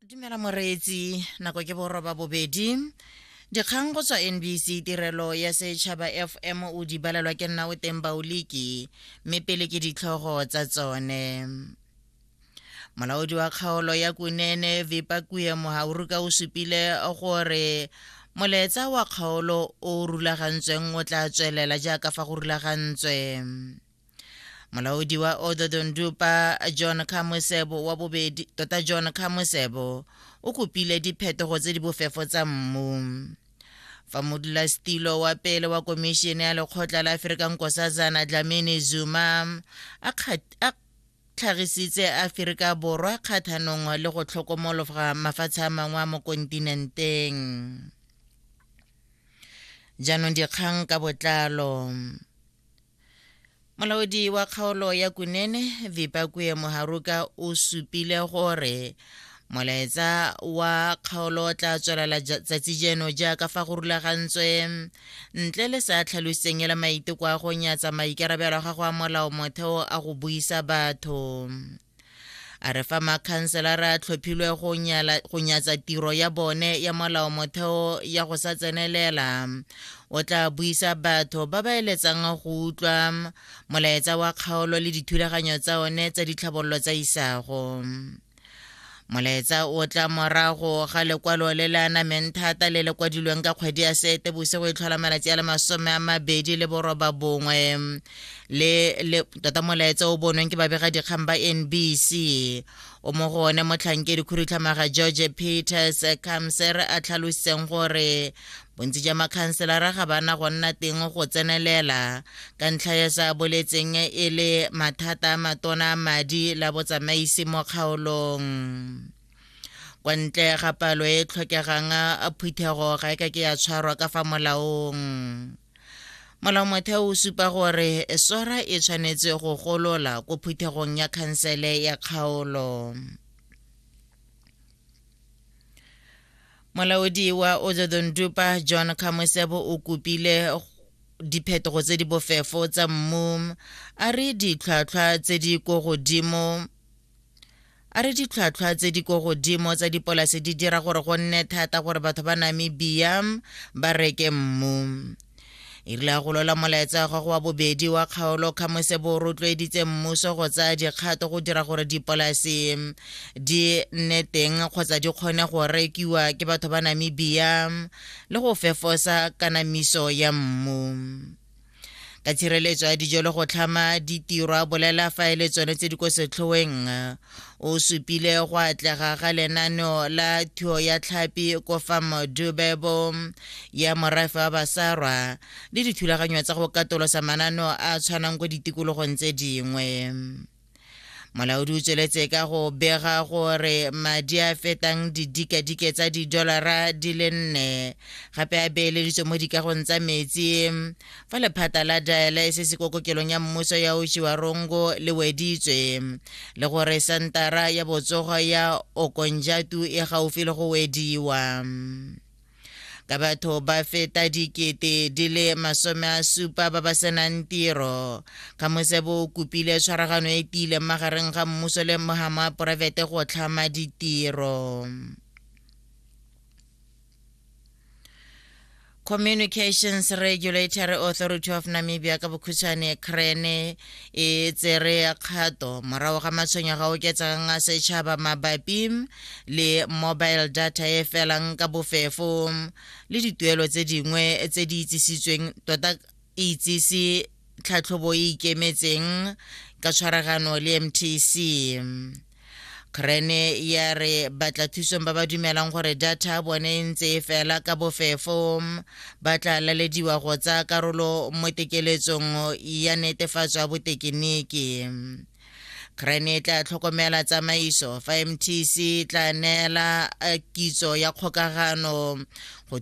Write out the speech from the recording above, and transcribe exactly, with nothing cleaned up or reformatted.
Dumela moreetsi, nako ke boroba bobedi. Dikgang go tswa N B C Tirelo ya Setšhaba F M, o di balelwa ke nna o teng Baoliki, mme pele ke ditlhogo tsa tsone. Molaodi wa kgaolo ya Kunene Vipakue Muhauruka o supile gore molaetsa wa kgaolo o rulagantsweng o tla tswelela jaaka fa go rulagantswe. Molaodi wa Otjozondjupa John Khamusebo wa bobedi, tota John Khamusebo, o kopile diphetogo tse di bofefo tsa mmu. Fa modulasetilo wa pele wa komišene ya lekgotla la Aforika Nkosazana Dlamini Zuma a tlhagisitse Aforika Borwa kgathanong le go tlhokomologa mafatshe a mangwe a mo kontinenteng. Jaanong dikgang ka botlalo. Molaodi wa kgaolo ya Kunene Vipakue Muharuka o supile gore molaetsa wa kgaolo o tla tswelela tsatsi jeno jaaka fa go rulagantswe, ntle le sa tlhaloseng e le maiteko a go nyatsa maikarabelo a gago a molao motheo a go buisa batho. A re fa makhanselara a tlhophilwe go nyatsa tiro ya bone ya molao motheo ya go sa tsenelela, o tla buisa batho ba ba eletsang go utlwa molaetsa wa kgaolo le dithulaganyo tsa one tsa ditlhabololo tsa isago. Molaetsa o tla morago ga lekwalo le le anameng thata le le kwadilweng ka kgwedi ya Seetebosigo e tlhola malatsi a le masome a mabedi le boroba bongwe le le tota molaetsa o bonweng ke babegadikgang ba N B C, o mo go one motlhankedi khudutlhamaga George Peters Kamser a tlhalositseng gore bontsi jwa makhanselara ga bana go nna teng go tsenelela ka ntlha ya sa boletseng e le mathata a matona a madi la botsamaisi mo kgaolong. Kwa ntle ga palo e tlhokegang, a phuthego ga e ka ke ya tshwarwa ka fa molaong. Molaomotheo o supa gore sora e tshwanetse go golola ko phuthegong ya khansele ya kgaolo. Molaodi wa Otjozondjupa John Khamusebo o kopile diphetogo tse di bofefo tsa mmu. A re ditlhwatlhwa tse di ko godimo a re ditlhwatlhwa tse di ko godimo tsa dipolase di dira gore go nne thata gore batho ba Namibia ba reke mmu. E rile a golola molaetsa wa gagwe wa bobedi wa kgaolo, Khamusebo o rotloeditse mmuso go tsaya dikgato go dira gore dipolase di nne teng kgotsa di kgone go rekiwa ke batho ba Namibia le go fefosa kanamiso ya mmu ka tshireletso ya dijo le go tlhama ditiro, a bolela fa e le tsone tse di ko setlhoeng. O supile go atlega ga lenaneo la thuo ya tlhapi ko Farm Dubebo ya morafe wa Basarwa le dithulaganyo tsa go katolosa mananeo a a tshwanang ko ditikologong tse dingwe. Molaodi o tsweletse ka go bega gore madi a fetang didikadike tsa didolara di le nne gape a beeleditswe mo dikagong tsa metsi, fa lephata la dialysis ko kokelong ya mmuso ya Otjiwarongo le weditswe, le gore santara ya botsogo ya Okonjatu e gaufi le go wediwa. Ka batho ba feta dikete di le masome a supa ba ba senang tiro, Khamusebo o kopile tshwaragano e tiileng magareng ga mmuso le mohama wa poraefete go tlhama ditiro. Communications Regulatory Authority of Namibia, ka bokhutshwane CRAN, e tsere kgato morago ga matshwenyego a oketsegang a setšhaba mabapi le mobile data e felang ka bofefo le dituelo tse dingwe tse di itsisitsweng. Tota e itsise tlhatlhobo e ikemetseng ka tshwaragano le M T C. CRAN ya re batla thusong ba ba dumelang gore data bone e ntse e fela ka bofefo ba tla lalediwa go tsaya karolo mo tekeletsong ya netefatso ya botekiniki. CRAN e tla tlhokomela tsamaiso, fa M T C tla neela kitso ya kgokagano go